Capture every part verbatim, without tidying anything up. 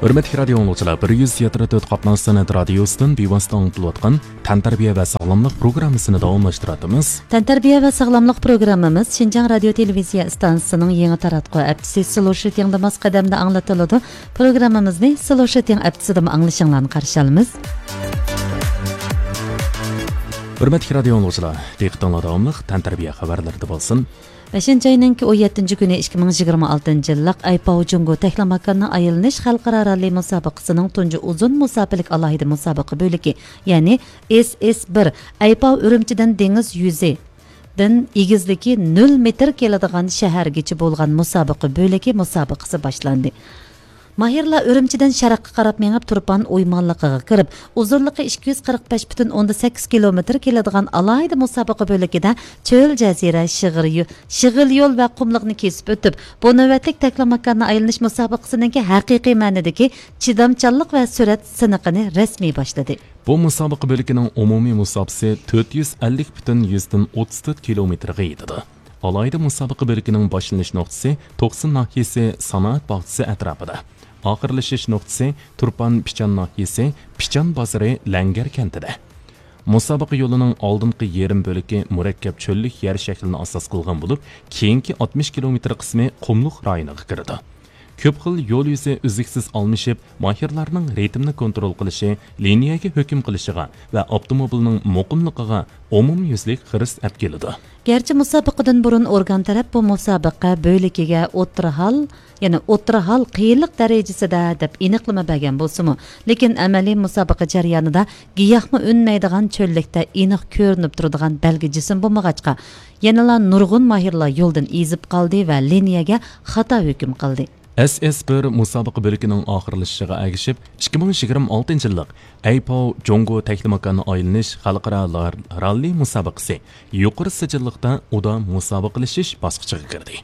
ھۆرمەتلىك رادىئو ئاڭلىغۇچىلار، بىر يۈز يەتتە نۆل تۆت قاتناش سەنئەت رادىيوسىدىن بىۋاسىتە ئاڭلىتىلىۋاتقان تەنتەربىيە ۋە ساغلاملىق پروگراممىسىنى داۋاملاشتۇراتىمىز. تەنتەربىيە ۋە ساغلاملىق پروگراممىمىز شىنجاڭ رادىيو تېلېۋىزىيە ئىستانسىسىنىڭ يېڭى تاراتقۇ ھەپتىسى سلوشىتىڭدا ماس قەدەمدە ئاڭلىتىلىدۇ. پروگراممىمىزنى سلوشىتىڭ ھەپتىسىدىمۇ ئاڭلىشىڭلارنى قارشى ئالىمىز. ھۆرمەتلىك رادىئو ئاڭلىغۇچىلار، دىققىتىڭلار داۋاملىق تەنتەربىيە خەۋەرلىرىدە بولسۇن. بەشىنچى ئاينىڭكى ئون يەتتىنچى كۈنى ئىككى مىڭ يىگىرمە ئالتىنچى يىللىق ئەيپاۋ جۇڭگو تەكلىماكاننى ئايلىنىش خەلقئارا راللى مۇسابىقىسىنىڭ تۇنجى ئۇزۇن مۇساپىلىك ئالاھىدە مۇسابىقە بۆلىكى، يەنى ئېس ئېس بىر، ئەيپاۋ ئۈرۈمچىدىن دېڭىز يۈزى دىن ئېگىزلىكى نۆل مېتىر كېلىدىغان شەھەرگىچە بولغان مۇسابىقە بۆلىكى مۇسابىقىسى باشلاندى. ماھىرلار ئۈرۈمچىدىن شەرققە قاراپ مېڭىپ، تۇرپان ئويمانلىقىغا كىرىپ، ئۇزۇنلۇقى ئىككى يۈز قىرىق بەش پۈتۈن ئوندىن سەككىز كىلومېتىر كېلىدىغان ئالاھىدە مۇسابىقە بۆلىكىدە چۆل، جەزىرە، شىغىر يو-، شىغىل يول ۋە قۇملۇقنى كېسىپ ئۆتۈپ، بۇ نۆۋەتلىك تەكلىماكاننى ئايلىنىش مۇسابىقىسىنىڭكى ھەقىقىي مەنىدىكى چىدامچانلىق ۋە سۈرئەت سىنىقىنى رەسمىي باشلىدى. بۇ مۇسابىقە بۆلىكىنىڭ ئومۇمىي مۇساپىسى تۆت يۈز ئەللىك پۈتۈن يۈزدىن ئوتتۇز تۆت كىلومېتىرغا يېتىدۇ. ئالاھىدە مۇسابىقە بۆلىكىنىڭ باشلىنىش نۇقتىسى توقسۇن ناھىيەسى سانائەت باغچىسى ئەتراپىدا، ئاخىرلىشىش نۇقتىسى تۇرپان پىچان ناھىيەسى پىچان بازىرى لەڭگەر كەنتىدە. مۇسابىقە يولىنىڭ ئالدىنقى يېرىم بۆلىكى مۇرەككەپ چۆللۈك يەر شەكلىنى ئاساس قىلغان بولۇپ، كېيىنكى ئاتمىش كىلومېتىر قىسمى قۇملۇق رايونىغا كىرىدۇ. كۆپ خىل يول يۈزى ئۈزلۈكسىز ئالمىشىپ، ماھىرلارنىڭ رىتىمنى كونترول قىلىشى، لىنىيەگە ھۆكۈم قىلىشىغا ۋە ئاپتوموبىلنىڭ مۇقىملىقىغا ئومۇميۈزلۈك خىرىس ئەپ كېلىدۇ. گەرچە مۇسابىقىدىن بۇرۇن ئورگان تەرەپ بۇ مۇسابىقە بۆلىكىگە ئوتتۇرا ھال، يەنى ئوتتۇرا ھال قىيىنلىق دەرىجىسىدە دەپ ئېنىقلىما بەرگەن بولسىمۇ، لېكىن ئەمەلىي مۇسابىقە جەريانىدا گىياھمۇ ئۈنمەيدىغان چۆللۈكتە ئېنىق كۆرۈنۈپ تۇرىدىغان بەلگە جىسىم بولمىغاچقا، يەنىلا نۇرغۇن ماھىرلار يولدىن ئېزىپ قالدى ۋە لىنىيەگە خاتا ھۆكۈم قىلدى. ئەس ئەس بىر مۇسابىقە بۆلىكىنىڭ ئاخىرلىشىشىغا ئەگىشىپ، ئىككى مىڭ يىگىرمە ئالتىنچى يىللىق ئەيپاۋ جۇڭگو تەكلىماكاننى ئايلىنىش خەلقئارا لار-، راللى مۇسابىقىسى يۇقىرى سىجىللىقتا ئۇدا مۇسابىقىلىشىش باسقۇچىغا كىردى.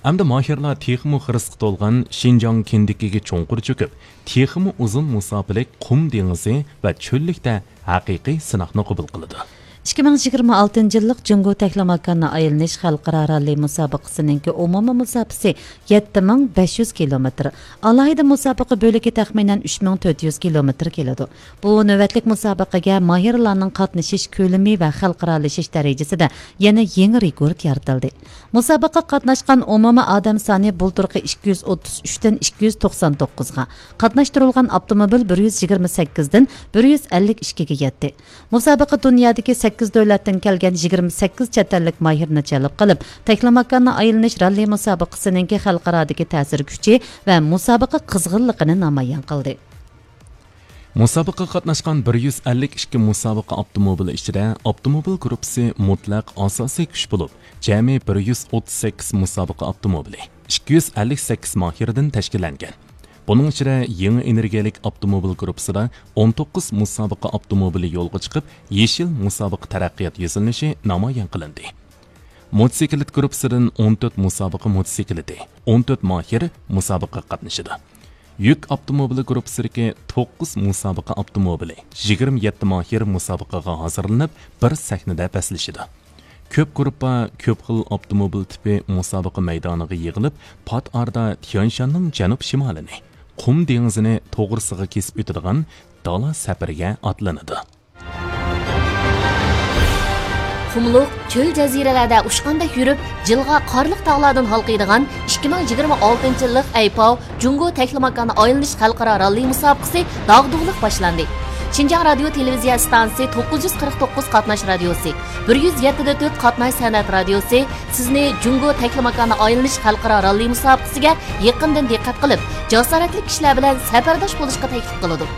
ئەمدى ماھىرلار تېخىمۇ خىرىسقا تولغان شىنجاڭ كىندىكىگە چوڭقۇر چۆكۈپ، تېخىمۇ ئۇزۇن مۇساپىلىك قۇم دېڭىزى ۋە چۆللۈكتە ھەقىقىي سىناقنى قوبۇل قىلىدۇ. ئىككى مىڭ يىگىرمە ئالتىنچى يىللىق جۇڭگو تەكلىماكاننى ئايلىنىش خەلقئارا راللى مۇسابىقىسىنىڭكى ئومۇمىي مۇساپىسى يەتتە مىڭ بەش يۈز كىلومېتىر. ئالاھىدە مۇسابىقە بۆلىكى تەخمىنەن ئۈچ مىڭ تۆت يۈز كىلومېتىر كېلىدۇ. بۇ نۆۋەتلىك مۇسابىقىگە ماھىرلارنىڭ قاتنىشىش كۆلىمى ۋە خەلقئارالىشىش دەرىجىسىدە يەنە يېڭى رېكورت يارىتىلدى. مۇسابىقىگە قاتناشقان ئومۇمىي ئادەم سانى بۇلتۇرقى ئىككى يۈز ئوتتۇز ئۈچتىن ئىككى يۈز توقسان توققۇزغا، قاتناشتۇرۇلغان ئاپتوموبىل بىر يۈز يىگىرمە سەككىزدىن بىر يۈز ئەللىك ئىككىگە يەتتى. مۇسابىقە دۇنيادىكى سەككىز دۆلەتتىن كەلگەن يىگىرمە سەككىز چەت ئەللىك ماھىرنى جەلپ قىلىپ، تەكلىماكاننى ئايلىنىش راللى مۇسابىقىسىنىڭكى خەلقئارادىكى تەسىر كۈچى ۋە مۇسابىقە قىزغىنلىقىنى نامايان قىلدى. مۇسابىقىگە قاتناشقان بىر يۈز ئەللىك ئىككى مۇسابىقە ئاپتوموبىلى ئىچىدە ئاپتوموبىل گۇرۇپپىسى مۇتلەق ئاساسىي كۈچ بولۇپ، جەمئىي بىر يۈز ئوتتۇز سەككىز مۇسابىقە ئاپتوموبىلى، ئىككى يۈز ئەللىك سەككىز ماھىردىن تەشكىللەنگەن. بۇنىڭ ئىچىدە يېڭى ئېنېرگىيەلىك ئاپتوموبىل گۇرۇپپىسىدا ئون توققۇز مۇسابىقە ئاپتوموبىلى يولغا چىقىپ، يېشىل مۇسابىقە تەرەققىيات يۈزلىنىشى نامايان قىلىندى. موتوسىكلىت گۇرۇپپىسىدىن ئون تۆت مۇسابىقە موتوسىكلىتى، ئون تۆت ماھىر مۇسابىقىگە قاتنىشىدۇ. يۈك ئاپتوموبىلى گۇرۇپپىسىدىكى توققۇز مۇسابىقە ئاپتوموبىلى، يىگىرمە يەتتە ماھىر مۇسابىقىگە ھازىرلىنىپ، بىر سەھنىدە بەسلىشىدۇ. كۆپ گۇرۇپپا، كۆپ خىل ئاپتوموبىل تىپى مۇسابىقە مەيدانىغا يىغىلىپ، پات ئارىدا تيەنشاننىڭ جەنۇب شىمالىنى، قۇم دېڭىزىنى توغرىسىغا كېسىپ ئۆتىدىغان دالا سەپىرىگە ئاتلىنىدۇ. قۇملۇق، چۆل جەزىرىلەردە ئۇچقاندەك يۈرۈپ، جىلغا قارلىق تاغلاردىن ھالقىيدىغان ئىككى مىڭ يىگىرمە ئالتىنچى يىللىق ئەيپاۋ جۇڭگو تەكلىماكاننى ئايلىنىش خەلقئارا راللى مۇسابىقىسى داغدۇغىلىق باشلاندى. شىنجاڭ رادىيو تېلېۋىزىيە ئىستانسىسى توققۇز يۈز قىرىق توققۇز قاتناش رادىيوسى، بىر يۈز يەتتە دە تۆت قاتناش سەنئەت رادىيوسى سىزنى جۇڭگو تەكلىماكاننى ئايلىنىش خەلقئارا راللى مۇسابىقىسىگە يېقىندىن دىققەت قىلىپ، جاسارەتلىك كىشىلەر بىلەن سەپەرداش بولۇشقا تەكلىپ قىلىدۇ.